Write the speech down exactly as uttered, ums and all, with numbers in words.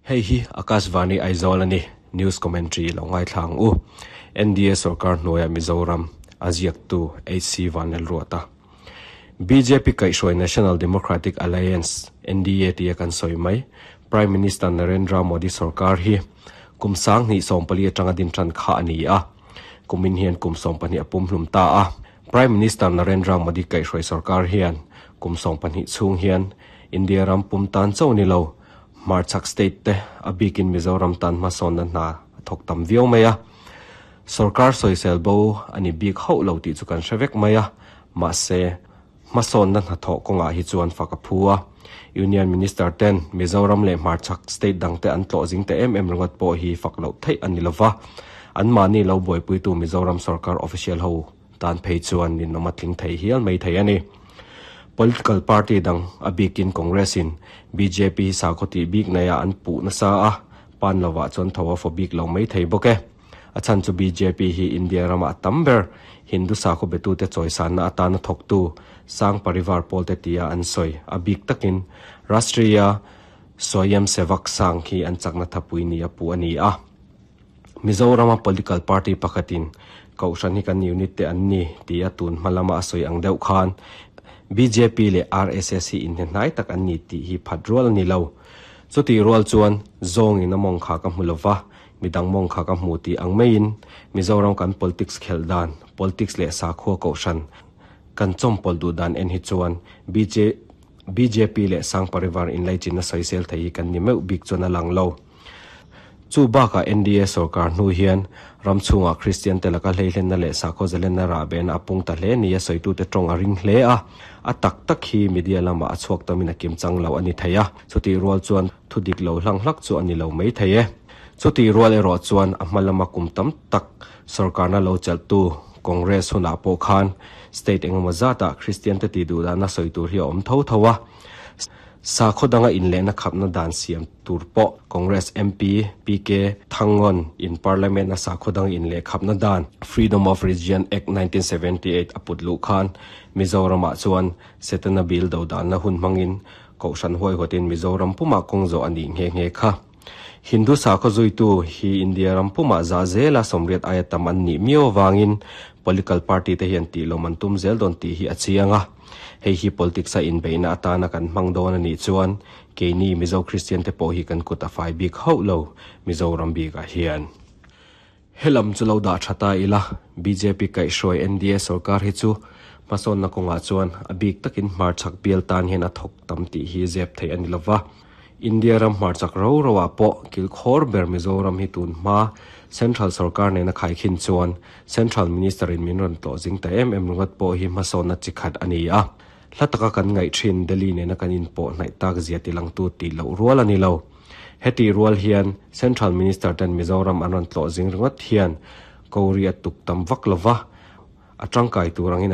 Hei hi Akashvani Aizawl ani news commentary lo ngai thlang u N D A sarkar hnuaia Mizoram aziak tu H C Vanel Ruata. B J P kaihhruai National Democratic Alliance, N D A tia kan sawi mai, Prime Minister Narendra Modi sarkar hi kum sang hnih sawm pali atanga din tan kha ani a, kumin hian kum sawm pahnih a pum hlum ta a. Prime Minister Narendra Modi kaihhruai sarkar hian kum sawm pahnih chhung hian India ram pum tan cho ni lo, Marchak state te a bikin Mizoram tan hmasawn na hna thawk tam viau mai a. Sarkar sawisel bo ani bik hauh lo tih chu kan hre vek mai a, mahse hmasawn na hna thawh kawngah hi chuan fak a phu a. Union Minister ten Mizoram leh Hmarchhak state dangte an tlawh zing te em em ringawt pawh hi fak loh theih ani lova, an mahni lo buaipuitu Mizoram sarkar official ho tan phei chuan ninawm a tling thei hial mai thei ani. Political party dang, a bikin Congress in B J P hi sakhaw tih bik nei a an puh nasa a, pan lova chuan tho a fo bik lo mai thei bawk e. A chan chu B J P hi India rama tam ber Hindu sakhaw betu te chawisan na atana thawktu Sangh Parivar pawl te tia an sawi, a bik takin Rashtriya Swayam Sevak Sangh hi an chakna thapui ni a pu ani a. Mizorama political party pakhatin kohhran hi kan unit te an ni tia tun hmalama a sawi ang deuh khan B J P leh R S S hi inhne tak an ni tih hi phat rual ani lo. Chuti rual chuan zawng in a mawng kha ka hmu lova, midang mawng kha ka hmu ti ang maiin Mizoram kan politics khel dan, politics leh sakhua kohhran kan chawmpawlh duh dan en hi chuan B J B J P leh Sangh Parivar inlaichin na sawisel thei hi kan ni meuh bik chuan a lang lo. Chu baka N D A sarkar hnu hian ram chhunga Christian te laka hleihlen na leh sakhaw zalen na rah ben a pung ta hle ni a sawitu te tawng a ring hle a. A tak tak hi media lama a chhuak tamin a kim chang lo ani thei a, chuti rual chuan thu dik lo hlang hlak chu ani lo mai thei e. Chuti rual erawh chuan a hma lama kum tam tak sarkar na lo cheltu Congress hunah pawh khan state engemaw zata Christian te ti duh dana sawi tur hi a awm tho tho a. Sakhaw danga inlehna khapna dan siam tur pawh Congress M P P K Thangon in parliament a sakhaw dang inleh khapna dan, Freedom of Religion Act nineteen seventy-eight a put lu khan Mizoramah chuan Setana bill do dan na hun hmangin kohhran huai huatin Mizoram puma kawng zawh ani nghe nghe kha. Hindu sakhaw zuitu hi India ram puma za zela sawmriat aia tam an nih miau awangin political party te hian tih lawm an tum zel dawn tih hi a chiang a. Hei hi politics a inbeihna atana kan hmang dawn ani chuan keini Mizo Christian te pawh hi kan kut a fai bik hauh lo Mizoram bikah hian. Helam chu lo dah thata ila, B J P kaihhruai N D A sarkar hi chu hmasawn na kawngah chuan a bik takin hmarchhak bial tan hian a thawk tam tih hi zep thei ani lova. India ram hmarchhak ro ro ah pawh kilkhawr ber Mizoram hi tun hma central sarkar nena khaikhin chuan central minister in min rawn tlawh zing ta em em ringawt pawh hi hmasawn na chi khat ani a. Hla taka kan ngaih thin Delhi nena kan inpawh hnaih tak zia tilangtu tih loh rual ani lo. Heti rual hian central minister ten Mizoram an rawn tlawh zing ringawt hian kori a tuk tam vak lova, a tangkai tur angin